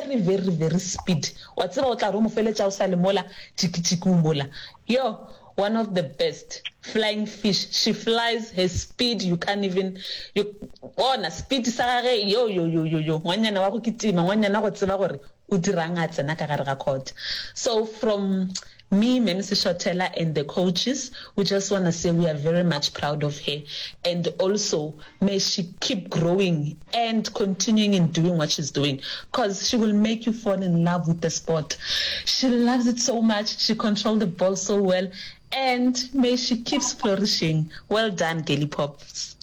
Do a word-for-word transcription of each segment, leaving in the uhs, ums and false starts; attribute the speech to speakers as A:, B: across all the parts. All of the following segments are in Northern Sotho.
A: very very very speed wa tseba o tla re o mo feletša o sa le mola tšiki-tšiki o mola yo one of the best flying fish she flies her speed you can't even you bona speed sa gage yo yo yo yo yo ngwanyana wa go kitima ngwanyana go tseba gore o dirang a tsena ka gare ga court so from me Mem Seshotela and the coaches we just want to say we are very much proud of her and also may she keep growing and continuing in doing what she's doing because she will make you fall in love with the sport she loves it so much she controls the ball so well and may she keeps flourishing well done Girly Pops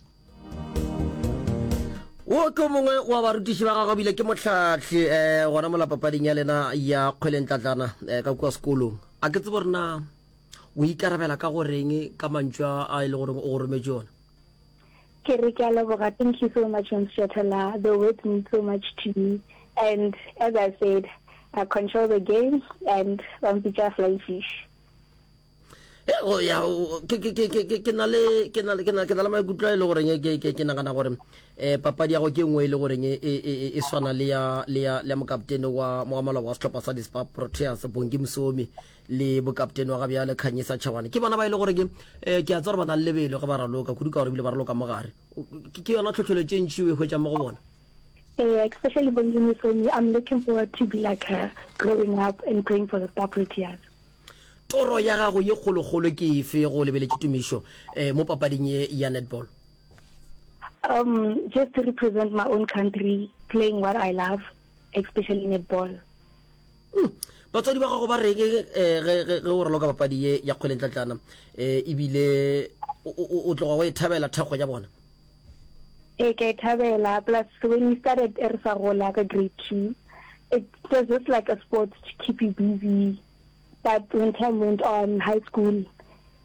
B: wo ke o mongwe wa barutiši ba gagwe bile ke motlhahli um gona mola papading ya lena ya kgwelentlatlana um ka kua sekolong a ke tsebo gore na o ikarabela ka goreng ka mantšu a a e le goreng o go rometše ona
C: Ke re ke a leboga. Thank you so much, Mshatala. The words mean so much to me. And as I said, I control the game and ba mpitša flying fish.
B: go ya ke ke ke ke ke na le ke na le ke na ke na le maikutlo a e le goreng ke ke ke nagana gore eh papadi ya go ke nngwe e le goreng e e e swana le ya le ya le ya mokaptene wa wa maloba wa sehlopha sa di-Spar Proteas Bongi Msomi le bokaptene wa ga bjale Khanyisa Chawane ke bona ba e le gore ke eh ke a tseba gore ba na le lebelo ge ba raloka kudu ka gore ebile ba raloka mogare ke yona tlhotlheletšo e ntši o e hwetšang mo go bona
C: Yeah, especially Bongi Msomi, I'm looking forward to be like her growing up and playing for the Spar Proteas.
B: Toro ya gago ye kgolokgolo ke efe go lebeletše Tumišo eh, mo papading ye ya netball?
C: Um, just to represent my own country, playing what I love, especially netball.
B: Mm. Batswadi ba gago ba reng eh, ge ge ge o raloka papadi ye ya kgwelentlatlana eh, ebile o, o, o tloga o e thabela thekgo ya bona?
C: Ee, ke a e thabela. Plus, when we started e re sa gola ka grade two, it was just like a sport to keep you busy. But when time went on, high school,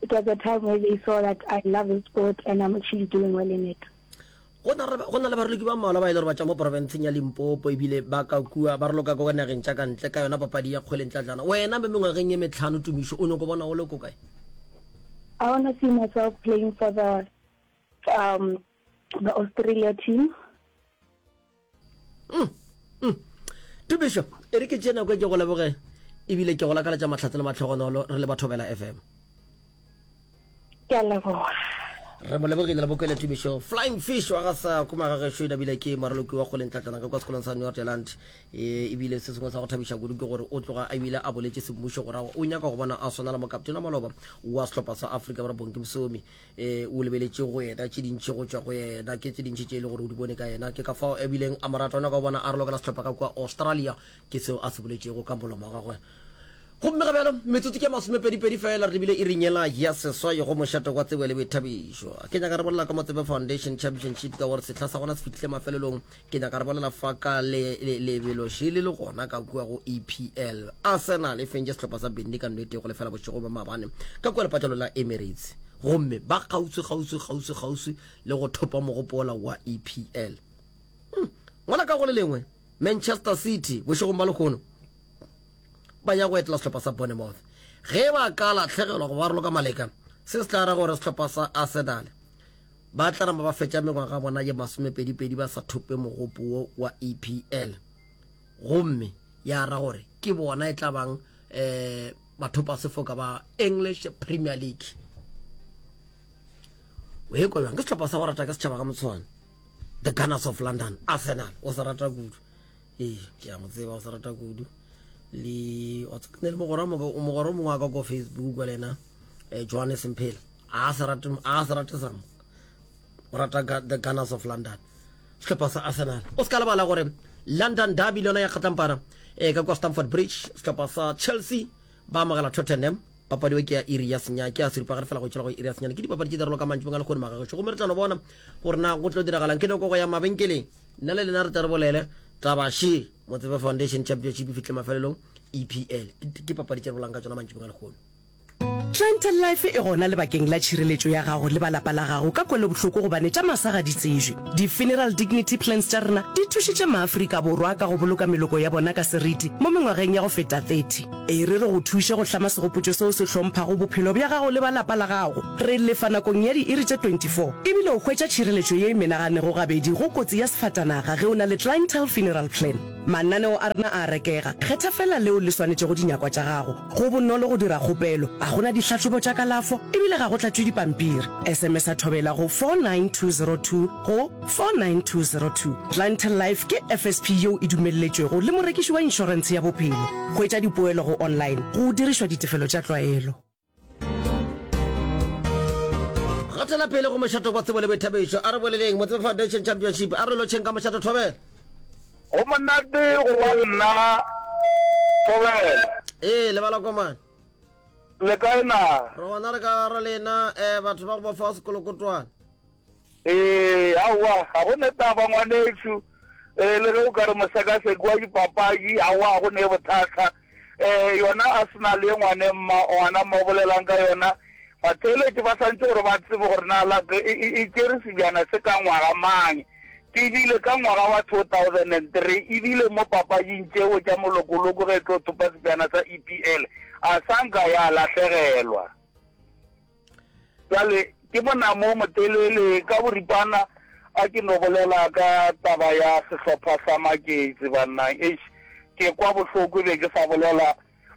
C: it was a time where they saw that I love the sport and I'm actually doing well in it.
B: Go na go na le baraloki ba mmalwa ba e le gore ba tšwa mo porofenseng ya Limpopo ebile ba ka kua ba raloka ko nageng tša ka ntle ka yona papadi ya kgwelentlatlana. Wena mo mengwageng ye metlhano Tumišo o nyako bona o le ko kae?
C: I want to see myself playing for the um the Australia team.
B: Mm, mm. Tumišo, e re ke tšee nako e ke go leboge ebile ke go lakaletša mahlatse le mahlogonolo re le Bathobela FM.
C: Ke a leboga.
B: Re mo lebogile le bokwele Tumišo Flying Fish wa ga sa koma ga gešo ebile ke moraloki wa kgoleng tlatlana ka kwa sekolong sa Northland e ebile se sengwe sa go thabiša kudu ke gore o tloga a ebile a boletše semmušo gore o nyaka go bona a swana le mokaptene wa maloba wa sehlopha sa Afrika Borwa Bongi Msomi e o lebeletše go yena tše dintši go tšwa go yena ke tše dintši tše e le gore o di bone ka yena ke ka fao ebileng a mo rata o nyaka go bona a ralokela sehlopha ka kua Australia Ke seo a se boletšego ka molomo wa gagwe. Gomme ga bjalo, metsotso ke ya masomepedipedi fela, re lebile iring yela ya seswai go mošate wa tsebo le boithabišo. Ke nyaka re bolela ka Motsepe Foundation Championship ka gore sehla sa gona se fihlile mafelelong. Ke nyaka re bolela fa ka le, le, lebelo šele le gona ka kua go EPL. Arsenal e fentše sehlopha sa Burnley ka nnete go lefela bošego bja maabane ka kua lepatlelo la Emirates. Gomme ba kgauswi, kgauswi, kgauswi, kgauswi le go thopa mogopo wola wa EPL. Hmm. Ngwana ka go le lengwe, Manchester City bošegong ba lehono ba ya go etela sehlopha sa Bournemouth. Ge ba ka lahlegelwa go ba raloka maleka, se se tla ra gore sehlopha sa Arsenal ba tla nama ba fetša mengwaga bona ye masomepedipedi ba sa thope mogopo wo wa EPL. Gomme ya ra gore ke bona e tla bang um bathopa sefoka ba English Premier League. O e kwa bjang? Ke sehlopha sa go rata ke setšhaba ka motshwane. The Gunners of London, Arsenal, o se rata kudu. Ee, ke a mo tseba o se rata kudu. Le wa tseba ne le mogwera mo mogwera o mongwe wa ka ko Facebook kwa le yena eh, Johannes Mphela. A se rate a se rate sam. O rata The Gunners of London. Sehlopha sa Arsenal. O se ka lebala gore London Derby le yona ya kgatlampana eh, ka kwa Stamford Bridge, sehlopha sa Chelsea ba amogela Tottenham. Papadi eo ke ya iri ya senyane, ke ya seripagare fela go tšwela go iri ya senyane. Ke dipapadi tše di raloka mantšibong a lehono magagešo, gomme re tla no bona gore na go tlo diragalang. Ke nako go ya mabenkeleng, nna le lena re tle re bolele taba še. Motsepe Foundation Championship e fihlile mafelelong, EPL. Ke, ke papadi tše re bolang ka tšona mantšibong a lehono.
D: Clientele Life e gona lebakeng la tšhireletšo ya gago le ba lapa la gago ka kwelobohloko gobane tša masa ga di tsejwe. Di-Funeral Dignity Plans tša rena di thušitše maAfrika Borwa ka go boloka meloko ya bona ka seriti mo mengwageng ya go feta thirty. E re re go thuše go hlama segopotšo seo se hlomphago bophelo bja gago le ba lapa la gago. Re lefa nakong ya diiri tše twenty four ebile o hwetša tšhireletšo ye e menaganego gabedi go kotsi ya sefatanaga ge o na le Clientele Funeral Plan. Mananeo a rena a a rekega, kgetha feela leo le swanetšego dinyakwa tša gago. Go bonolo go dira kgopelo, ga go na dihlahlobo tša kalafo e bile ga go tlatšwe dipampiri. S M S-a Thobela go four nine two zero two go four nine two zero two. Clientele Life ke F S P yeo e dumelletšwego le morekiši wa inšorentshe ya bophelo. Hwetša dipoelo go online go dirišwa ditefelo tša tlwaelo.
B: Gatela pele go mošato wa tsebo le boithabišo. A re boleleng Motsepe Foundation Championship. A re lotšheng ka mošato, Thobela.
E: Go monate go ba nna, Thobela.
B: Ee, lebala komane.
E: Le kae na?
B: Re gona re ka ra lena eh, batho ba go ba fa sekolokotwane.
E: Ee, aowa, ga go ne taba ngwanešu. Eh, le ge o ka re mosekaseki wa dipapadi, aowa, ga go ne bothata. Eh, yona Arsenal ye ngwane mma, ngwana mma o bolelang ka yona, batheeletši ba santše gore ba tsebe gore na la e, e, e tšere sebjana se ka ngwaga mang. Ke bile ka ngwaga wa two thousand and three, e bile mo papading tšeo tša molokoloko ge e tlo thopa sebjana sa E P L, a sa nka ya lahlegelwa. Bjale ke monamo o motelele ka boripana a ke no bolela ka taba ya sehlopha sa Maketsi banna. Eish, ke kwa bohloko be ke sa bolela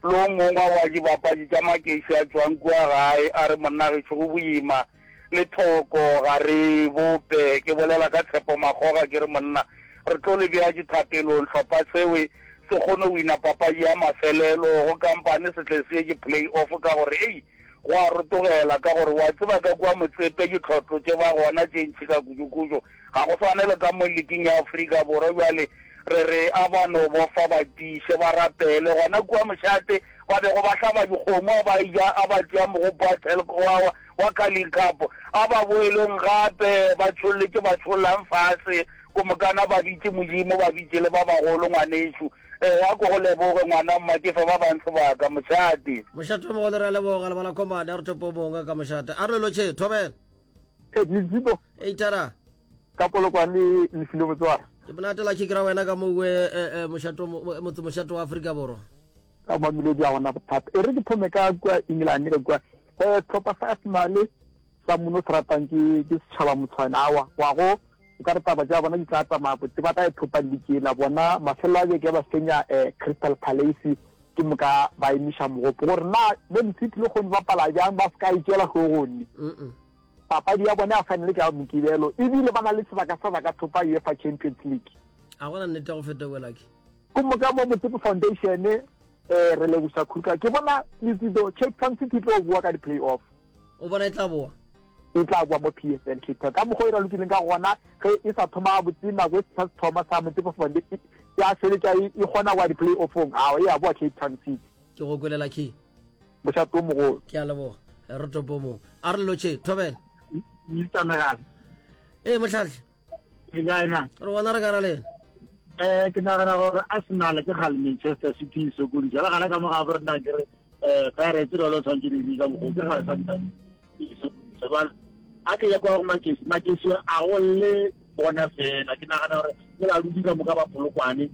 E: le o mongwe wa dibapadi tša Maketsi a tšwang kua gae, a re monna gešo go boima le thoko ga re bope. Ke bolela ka Tshepo Makgoga, ke re monna re tlo le bea dithapelong, hlopha sewe se kgone go wina papadi ya mafelelo go kampane se tle se ye ke play off, ka gore ei go a rotogela, ka gore wa tseba ka kua Motsepe ditlhotlo tše ba gona tše ntšhi ka kudu-kudu, ga go swane le ka mo liking ya Afrika Borwa. Bjale re re a ba no bofa ba tiše ba rapele gona kua mošate ba bego ba hlaba dikgomo a ba ja a ba tšea mogopo wa Telkom wa wa Carling Cup, a ba boeleng gape ba tšholletše ba tšhollang fase ko mokana ba bitše Modimo ba bitše le ba bagolo. Ngwanešu um a ko go leboge ngwana mma, ke fe ba bang sebaka, mošate.
B: Mošate o mogolo, re a leboga lebala komane. A re topo mongwe ka mošate. A re lotšhe, Thobela.
F: Letsito.
B: Eitara.
F: Ka Polokwane lefile botswara.
B: Ke monate la kikira wena ka mowe mošato, motse mošato wa Afrika Borwa.
F: Ka Mamelodi a gona bothata. E re ke thome ka kua England, ka kua um sehlopha sa Arsenal sa mono se ratang ke ke setšhaba motshwane awa wa go o ka re taba tša bona di tla tsamaya botse, ba tla e thopa league bona mafelelo a beke ba fenya um Crystal Palace, ke moka ba emiša mogopo gore na Man City le kgone bapala bjang, ba se ka e tšela hlogong. Papadi ya bone ya final ke ya Mokibelo, ebile ba na le sebaka sa ba ka thopa UEFA Champions League.
B: A gona nnete go feta welake.
F: Ke moka mo Motsepe Foundation um re leboša Kruger, ke bona Letsito Cape Town City tlo boa ka di-play off.
B: O bona e tla boa?
F: E tla boa mo P S L. Cape Town ka mokgwa e ralokileng ka gona ge e sa thoma gabotse, nako e sa se thoma sa Motsepe Foundation ya feletša e kgona go ya di-play offong, ao e a boa Cape Town City.
B: Ke go kwelela key.
F: Mošato o mogolo.
B: Ke a leboga, re topo mongwe. A re lotšhe, Thobela.
G: Mister Megala.
B: Ee, motlhatlhi.
G: E kae na?
B: Re gona re ka ra lena.
G: um ke nagana gore Arsenal ke gale Manchester City e sokodisa le gana ka mo ga bo rena ke re um Pirates le le tshwanetse di ka mokgo ke gale santane e sokodisa. Jwale a ke ya kwa go Makesi, Makesi a go le bona fela, ke nagana gore ke badudi ka moka ba Polokwane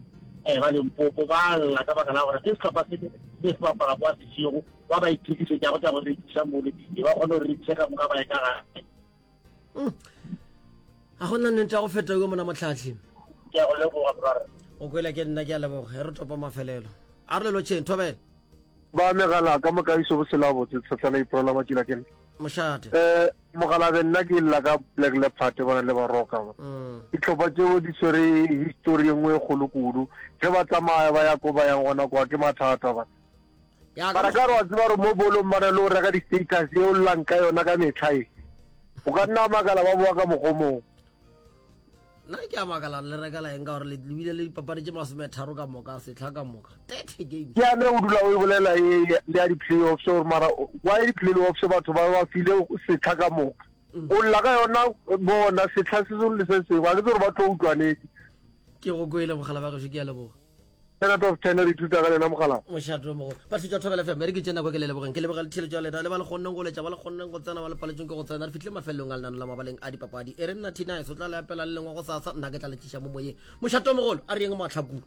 G: um ba Limpopo ba lla ka baka la gore ke sehlopha se se se bapala kwa sešego, ba ba ithekisetšago tša go rekiša mole e ba kgone go rekiša ka moka ba ye ka gae.
B: Ga gona nnete ya go feta yo mona motlhatlhi.
G: Ke a go leboga, brother.
B: O kwele ke nna, ke a leboga. Re topa mafelelo. A re lelotšheng, Thobela.
F: Ba megala ka moka iso bosela botse tshetlana iprola matšila ke
B: Mošate.
F: eh mogalabe, nna ke lla ka Black Leopard bona le Baroka ba. Dihlopha tšeo di swere history e nngwe e kgolo kudu, ge ba tsamaya ba ya ko ba yang gona kwa ke mathata ba.
B: Ya
F: mara ka re wa tseba gore mo bolong ba na le go reka di-status e o llang ka yona ka metlha e, o ka nna makala ba boa ka mokgomong.
B: Nna ke a makala le rekela eng, ka gore le bile le dipapadi tše masometharo ka moka setlha ka moka, thirty games.
F: Ke yane o dula o e bolela e le ya di-playoffs gore mara why di-playoffs batho ba ba file setlha ka moka, o lla ka yona bona setlha se sengwe le se sengwe, ga ke tse gore ba tlo utlwanetse.
B: Ke go kwele mogala ba gešo, ke a leboga.
F: Ten out of ten, re ithuta ka lena mogala.
B: Mošato mogolo batho tša Thobela F M, re ke tše nako ke le lebogeng, ke leboga letheletšo ya lena le ba le kgonneng go letša, ba le kgonneng go tsena, ba le paletsweng ke go tsena. Re fitlhile mafelelong a lenano la mabaleng a dipapadi. E re nna Tinice o tla le apela le lengwe go sasa, nna ke tla letšiša mo moyeng. Mošato mogolo, a re yeng matlhakong.